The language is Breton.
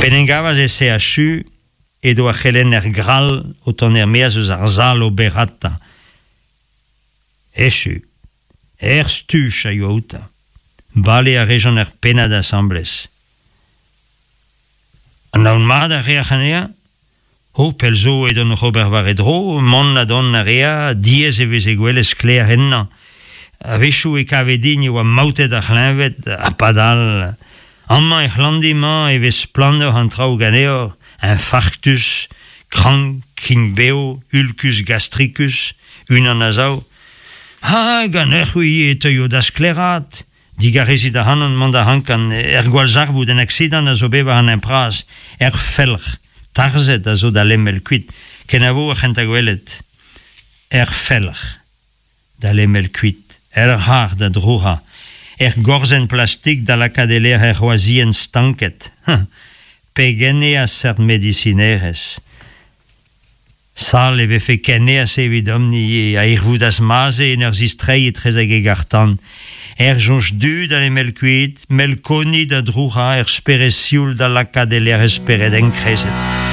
P'en em gavas e CHU edo ar c'helenner Grall o tont er-maez eus ar sal oberata. Echu. Er stuj a yoa outañ. Bale a rejont ur pennad asambles. Anaout mat a reac'h anezhañ? Ho, pell zo edon oc'h ober war e dro, mont ha dont a rea, diaes e veze gwelet sklaer ennañ. A-wechoù e kave din e oa maoutet ar c'hleñved, ha padal. Amañ er c'hlandi-mañ e vez splannoc'h an traoù ganeoc'h, infarktus, krank, krign-bev, ulcus gastricus, unan a zaou. Ha ganeoc'h-c'hwi e teuio da sklaeraat? Digarezit ac'hanon mont a rankan er gwallzarvoud en aksidant a zo bet war an hent-bras, er felc'h tarzhet a zo da lemel kuit, kenavo ar c'hentañ gwelet. Er felc'h da lemel kuit, er c'harr da drouc'hañ, er gorzenn plastik da lakaat e-lec'h er c'hroazienn stanket. Pegen eo a seurt medisinerezh! Sal e vefe ken aes evidomp-ni ivez, a hirvoudas Maze en ur zistreiñ etrezek e garr-tan. Er soñj du da lemel kuit, melkoni da drouc'hañ, er spered sioul da lakaat e lec'h e spered enkrezet.